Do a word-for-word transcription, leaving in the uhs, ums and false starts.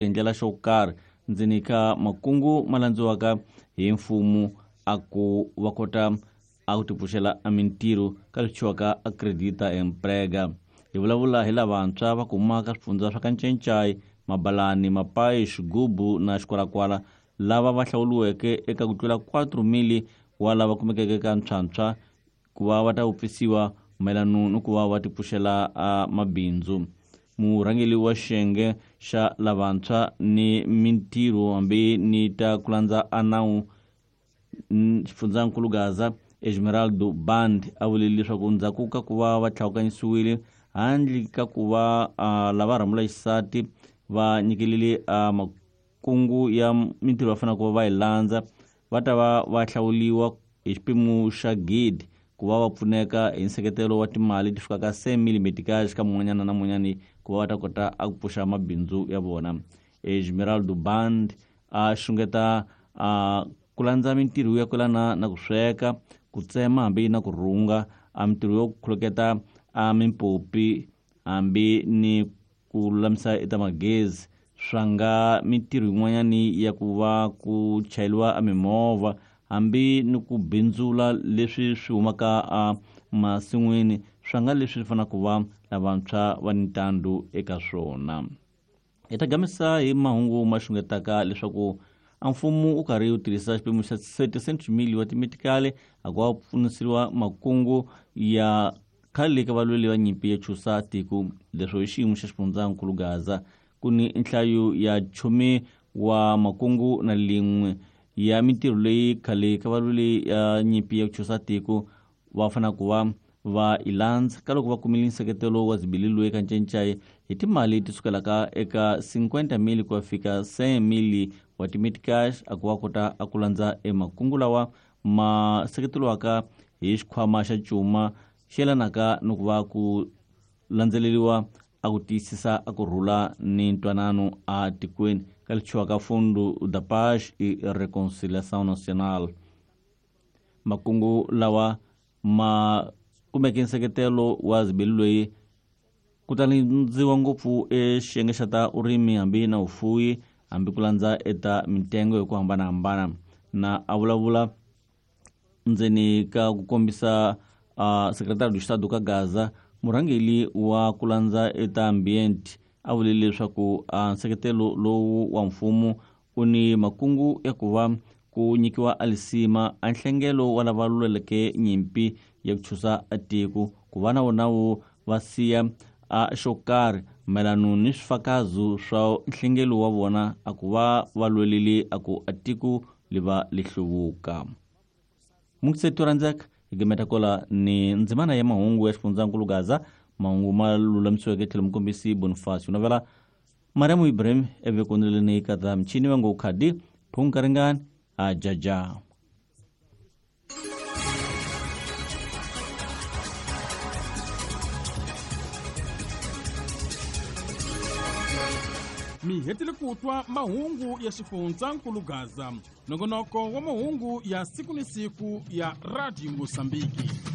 Hi ndlela xo karhi ndzeni ka makungu ma landziwaka hi mfumo a ku va kota a ku tipfuxela a mintirho ka leswi thyiwaka a Acredita Emprega. Hi vulavula hi lavantshwa va kumaka swifundza swa Kanchenchai, Mabalani, Mapayi, Xigubu na Xikwalakwala, lava va hlawuriweke eka ku tlula quatro mili wa lava kumekeke ka ntshwantshwa ku va va ta vupfisiwa mayelana ni ku va va tipfuxela a mabindzu. Murhangeri wa xiyenge xa lavantshwa ni mintirho hambi ni ta ku landza a nawu xifundzankulu Gaza, Esmeraldo Band, a vule leswaku ndzhaku ka ku va va tlhawukanyisiwile handle ka ku va lava rhamula xisati va nyikelile a makungu ya mintirho va faneleke ku va va yi landza, va ta va va hlawuriwa hi xipimo xa gidi ku va va pfuneka hi nseketelo wa timali ti fikaka cent mille meticais ka mun'wanyana na mun'wanyani ku va va ta kota a ku pfuxa mabindzu ya vona. Esmeraldo Band a xungeta a ku landza mintirho ya kwelana na ku sweka, ku tsema hambi na ku rhunga, a mintirho yo khuluketa a mimpopi hambi ni ku lulamisa eta magezi, swa nga mintirho yin'wanyani ya ku va ku chayeriwa a mimovha hambi ni ku bindzula leswi swi humaka a masin'wini, swa nga leswi fanelaka ku va lavantshwa va ni ntandu eka swona. Hi ta gamisa hi mahungu ma xungetaka leswaku a mfumo wu karhi wu tirhisa xipimo xa setecentos mili wa timetikali a ku va pfuniseriwa makungu ya khale ka valweri va nyimpi ya chusa tiko. Leswo hi xiyimo xa xifundzankulu Gaza ku ni nhlayo ya chumi wa makungu na lin'we ya mintirho leyi khale ka valweri ya nyimpi ya chusa tiko va fanelaka ku va va yi landza ka loko va kumile nseketelo wa zibililwe ka Ncencai hi timali ti sukelaka eka cinquenta mili ku ya fika cent mili wa timeticais a ku va kota a ku landza emakungu lawa ma seketeriwaka hi xikhwama xa cuma xi yelanaka ni ku va ku landzeleriwa a ku tiyisisa a ku rhula ni ntwanano a tikweni ka leswi thyiwaka Fundo da Paz e Reconciliação Nacional. Makungu lawa ma kumeke nseketelo wa zibeli loyi ku ta landziwa ngopfu exiyenge xa ta urimi hambi na vufuwi hambi ku landza eta mitengo hi ku hambanahambana. Na a vulavula ndzeni ka ku kombisa uh, secretario do Estado ka Gaza, murhangeri wa ku landza eta ambient a vule leswaku uh, nseketelo lowu wa mfumo wu ni makungu ya ku va ku nyikiwa alisima a nhlengelo wa lava lweleke nyimpi ya ku chusa tiko ku va na wona wu va siya a xo karhi mayelana ni swifakazo swa nhlengelo wa vona a ku va va lwelile a ku a tiko li va li hluvuka. Muksetu randzaka hi gimeta kola ni ndzimana ya mahungu ya xifundzankulu Gaza, mahungu ma lulamisiweke tlhelo mukombisi Bonifacio Novela, Mariamu Ibrahim evekoneleni ka ta michini va ngo khadi phunkaringani a jaja. Mi hetile ku twa mahungu ya xifundzankulu Gaza, nongonoko wa mahungu ya siku ni siku ya Radio Mozambique.